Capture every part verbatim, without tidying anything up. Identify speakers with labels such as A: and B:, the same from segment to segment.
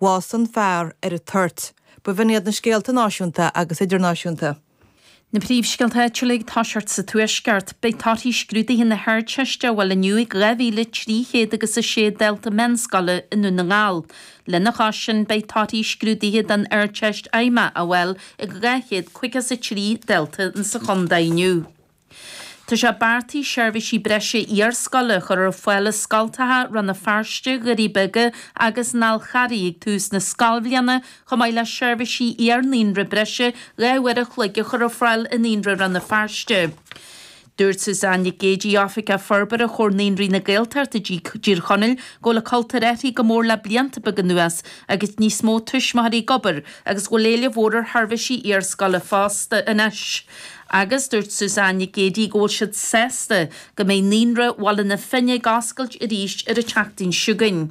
A: Bhásaigh an fear ar an toirt. B'in iad na scéalta náisiúnta agus idirnáisiúnta.
B: Na príomhscéalta áitiúla ag toiseacht sa Tuaisceart, beidh torthaí scrúduithe na hArdteiste á bhfáil inniu ag dhá mhíle trí chéad agus a sé dalta meánscoile i nDún na nGall. Lena chois sin, beidh torthaí scrúduithe don Ardteist Fheidhmeach á bhfáil ag dhá chéad caoga is a trí dalta sa chontae inniu. Tá sé beartaithe seirbhísí breise iarscoile a chur ar fáil i scoltacha Rann na Feirste, Dhoirí Beaga agus an Fhál Charraigh ag tús na scoilbhliana, chomh maith le seirbhísí iar-naíonra breise dhá uair a chloig a chur ar fáil i Naíonra Rann na Feirste. Dúirt Suzanne Nic Géidigh, Oifigeach Forbartha Chomhar Naíonraí na Gaeltachta i dTír Chonaill, go bhfuil an cultúr athraithe go mór le blianta beaga anuas agus níos mó tuismitheoirí ag obair agus go bhfuil éileamh mhór ar sheirbhísí iarscoile fosta anois. Agus dúirt Suzanne Nic Géidigh go bhfuil siad sásta go mbeidh Naíonra Bhaile na Finne ag oscailt arís ar an tseachtain seo chugainn.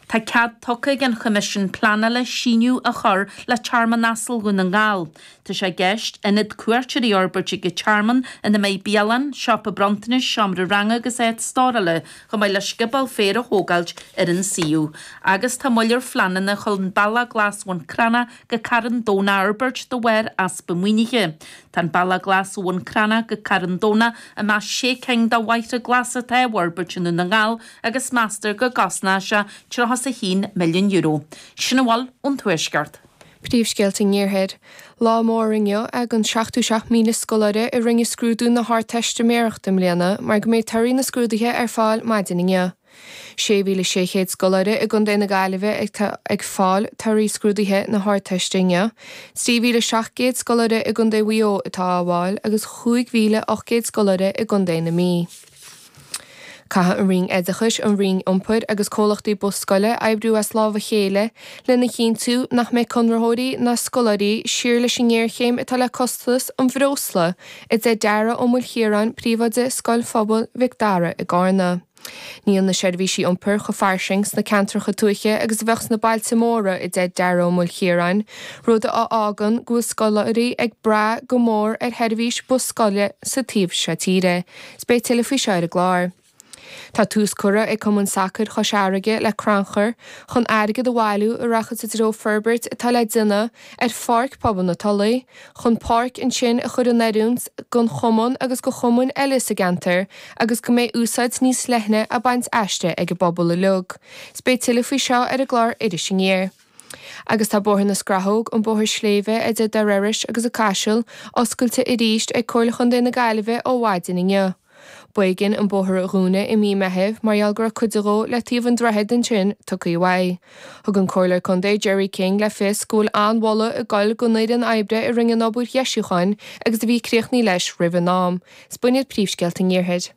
B: Tá cead tugtha ag an Choimisiún Pleanála síneadh a chur le Tearmann Asal Dhún na nGall. Tá sé i gceist ionad cuairteoirí a fhorbairt ag an tearmann ina mbeidh bialann, siopa bronntanais, seomra ranga agus áit stórála, chomh maith le scioból féir a thógáilt ar an suíomh. Agus tá moill ar phleananna chun Bealach Glas Bhun Cranncha go Carn Domhnach a fhorbairt de bharr easpa maoinithe. Tá an Bealach Glas ó Bhun Cranncha go Carn Domhnach i measc sé cinn de bhóithre glasa atá á bhforbairt i nDún na nGall agus meastar go gcosnóidh sé tríocha is a haon milliún euro. Sin a bhfuil ón Tuaisceart.
C: Príomhscéalta an Iarthair. Lá mór inniu ag an seachtó seacht míle scoláire a rinne scrúdú na hArdteistiméireachta i mbliana mar go mbeidh torthaí na scrúduithe ar fáil maidin inniu. sé mhíle sé chéad scoláire i gContae na Gaillimhe atá ag fáil torthaí scrúduithe na hArdteiste inniu, trí mhíle seacht gcéad scoláire i gContae Mhaigh Eo atá á bhfáil agus chúig mhíle ocht gcéad scoláire i gContae na Mí. Caithfidh an Roinn Oideachais, an Roinn Iompair agus comhlachtaí bus scoile oibriú as lámh a chéile lena chinntiú nach mbeidh conraitheoirí ná scoláirí siar leis an ngéarchéim atá le costas an bhreosla, a deir Dara Ó Maoilchiaráin, príomhoide Scoil Phobail Mhic Dara i gCarna. Níl na seirbhísí iompair chomh fairsing sna ceantracha tuaithe agus a bheadh sna bailte móra, a deir Dara Ó Maoilchiaráin, rud a fhágann go bhfuil scoláirí ag brath go mór ar sheirbhís bus scoile sa taobh seo tíre. 'S beidh tuilleadh faoi seo ar an gclár. Tá tús curtha ag Cumann Sacair Chois Fharraige le crannchur chun airgead a bhailiú a rachas i dtreo forbairt atá le déanamh ar Pháirc Pobail na Tulaí chun páirc ansin a chur in oiriúint don chumann agus do chumainn eile sa gceantar agus go mbeidh úsáid níos leithne á baint aisti ag an bpobal uilig. 'S beidh tuilleadh faoi seo ar an gclár Iris Aniar. Agus tá Bóthar na Scrathóg, an bóthar sléibhe idir Doire Iorrais agus an Caiseal, oscailte arís ag Comhairle Chontae na Gaillimhe ó mhaidin inniu. B'éigean an bóthar a dhúnadh i mí Meithimh mar gheall go raibh cuid dhó le taobh an droichid ansin tugtha uaidh. Thug an Comhairleoir Contae Gerry King le fios go bhfuil an-mholadh ag goil don fhoireann oibre a rinne an obair dheisiúcháin agus a bhí críochnaithe leis roimh an am. 'S b'in iad príomhscéalta an Iarthair.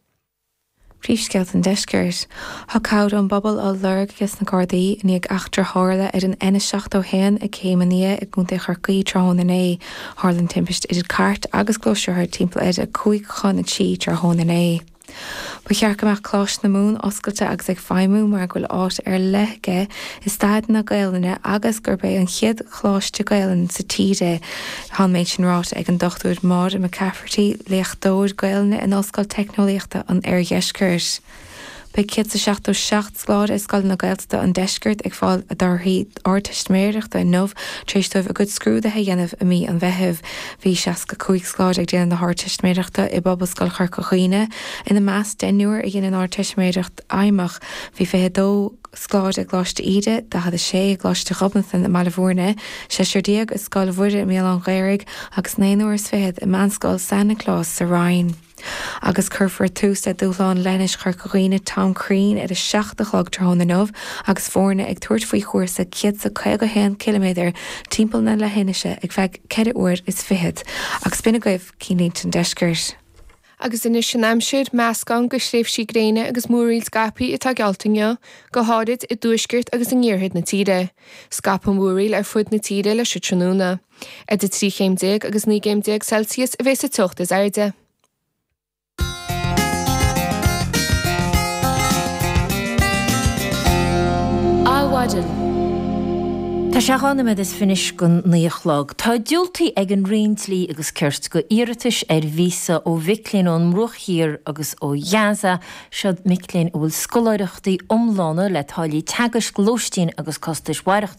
D: Príomhscéalta an Deiscirt. Tá cabhair ón bpobal á lorg aige na Gardaí i ndiaidh eachtra a tharla ar an N seachtó a haon ag Céim an Fhia i gContae Chorcaí tráthnóna inné. Tharla an timpiste idir cairt agus gluaisrothar timpeall ar a cúig chun a trí tráthnóna inné. Ba cheart go mbeadh Coláiste na Mumhan oscailte agus ag feidhmiú mar go bhfuil áit ar leith aige i stair na Gaelainne agus gurb é an chéad choláiste Gaelainne sa tír é. Tá an méid sin ráite ag an Dochtúir Máire McCafferty, léachtóir Gaelainne in Ollscoil Teicneolaíochta an Oirdheiscirt. Beidh céad is seachtó seacht scoláire i scoileanna Gaeltachta an deiscirt ag fáil a dtorthaí Ardteistiméireachta inniu tar éis dóibh a gcuid scrúduithe a dhéanamh i mí an Mheithimh. Bhí seasca cúig scoláire ag déanamh na hArdteistiméireachta i bPobalscoil Chorca Dhuibhne, ina measc deichniúr a dhein an Ardteistiméireacht Fheidhmeach. Bhí fiche dó. scoláire i gColáiste Íde, daichead a sé i gColáiste Ghobnatan i mBaile Bhúirne, seisear déag i Scoil Mhuire i mBéal Átha an Ghaorthaidh agus naonúr is fichead i Meánscoil San Nioclás sa Rinn. Agus cuirfear tús le Dúshlán Leithinis Chorca Dhuibhne Tom Crean ar a seacht a chlog tráthnóna inniu agus foirne ag tabhairt faoi chúrsa céad is a caoga a haon ciliméadar timpeall na leithinise ar feadh ceithre uair is fichead. Agus b'in agaibh Cinnlínte an Deiscirt.
C: Agus anois an aimsir, meascán de thréimhsí gréine agus múraíl scaipthe atá geallta inniu, go háirid i dtuaisceart agus in iarthar na tíre. Scaipfidh an mhúraíl ar fud na tíre leis an tráthnóna. Idir trí chéim déag agus naoi gcéim déag Celsius a bheas an teocht is airde.
E: Adhmhaidin. Tá sé dhá nóiméad is fiche anois don naoi a chlog. Tá diúltaithe ag an Roinn Dlí agus Cirt do iarratais ar víosa ó mhic léinn ón mBruach Thiar agus ó Ghaza, siod mic léinn a bhfuil scoláireachtaí iomlána le táillí teagaisc, lóistín agus costais mhaireachtála.